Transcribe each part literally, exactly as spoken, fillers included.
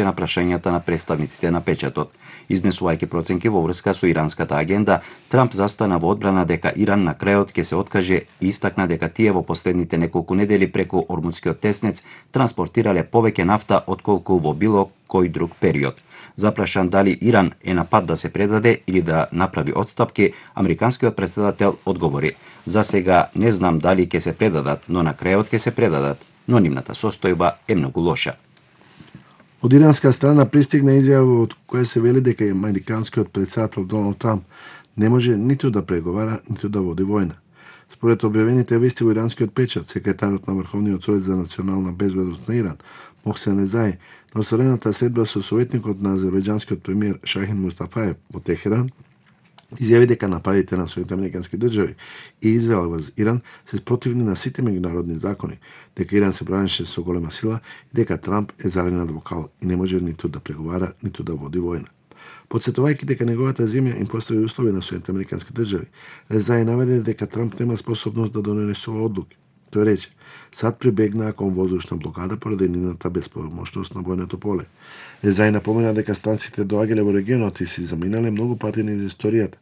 одговараше на прашањата на представниците на печатот. Изнесувајќи проценки во врска со иранската агенда, Трамп застана во одбрана дека Иран на крајот ќе се откаже и истакна дека тие во последните неколку недели преку Ормудскиот теснец транспортирале повеќе нафта отколку во било кој друг период. Запрашан дали Иран е на пат да се предаде или да направи отстапки, американскиот претседател одговори: "За сега не знам дали ќе се предадат, но на крајот ќе се предадат, но нивната состојба е многу лоша." Од иранска страна пристигна изјава од која се вели дека американскиот претседател Доналд Трамп не може ниту да преговара, ниту да води војна. Според објавените вести во иранскиот печат, секретарот на Врховниот совет за национална безбедност на Иран, Мохсен Резаи, на осворената седба со советникот на азербејџанскиот премиер Шахин Мустафаев во Техеран, изјави дека нападите на Соединетите американски држави и Израел врз Иран се спротивни на сите меѓународни закони, дека Иран се бранеше со голема сила и дека Трамп е заленат вокал и не може ниту да преговара, ниту да води војна. Подсетувајќи дека неговата земја им постави услови на Соединетите американски држави, Резаи наведе дека Трамп нема способност да донесува одлуки. Тој рече: "Сад прибегнаа кон воздушна блокада поради нивната безпомошност на војното поле." Резаи напомена дека станците доаѓале во регионот и си заминале многу пати низ историјата,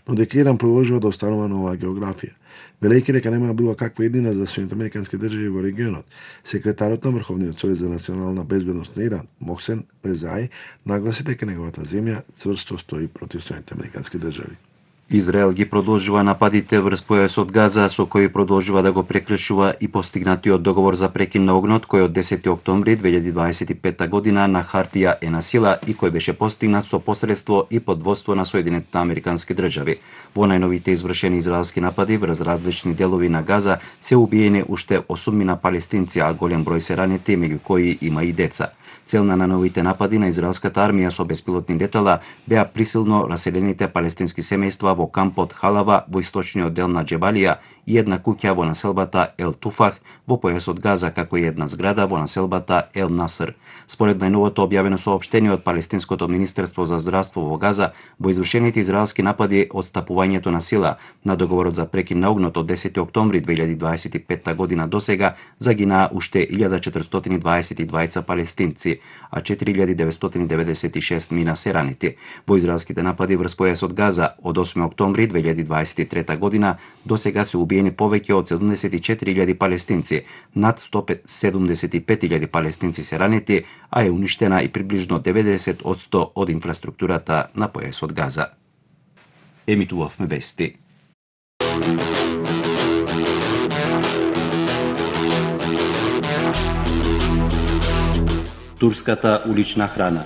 но дека Иран продолжува да останува на оваа географија. Велејќи дека нема било каква еднина за Соединетите американски држави во регионот, секретарот на Врховниот совет за национална безбедност на Иран, Мохсен Резаи, нагласи дека неговата земја цврсто стои против Соединетите американски држави. Израел ги продолжува нападите врз појасот Газа, со кои продолжува да го прекршува и постигнатиот договор за прекин на огнот, кој од десети октомври две илјади дваесет и петта година на хартија е на сила и кој беше постигнат со посредство и под водство на Соединетите американски држави. Во најновите извршени израелски напади врз различни делови на Газа се убиени уште осумина палестинци, а голем број се ранети, меѓу кои има и деца. Цел на новите напади на израелската армија со беспилотни летала беа присилно раселените палестински семејства во кампот Халава во источниот дел на Џебалија и една куќа во населбата Ел Туфах во појасот Газа, како и една зграда во населбата Ел Наср. Според најновото објавено соопштение од Палестинското министерство за здравство во Газа, во извршените израелски напади отстапувањето на сила на договорот за прекин на огнот од десети октомври две илјади дваесет и петта година досега загинаа уште илјада четиристотини дваесет и двајца палестинци, а четири илјади деветстотини деветдесет и шест мина се ранети. Во израелските напади врз појасот Газа од осми октомври две илјади дваесет и трета година досега се убиени повеќе од седумдесет и четири илјади палестинци, над сто седумдесет и пет илјади палестинци се ранети, а е уништена и приближно деветдесет одсто од инфраструктурата на појасот Газа. Емитувавме вести. Турската улична храна.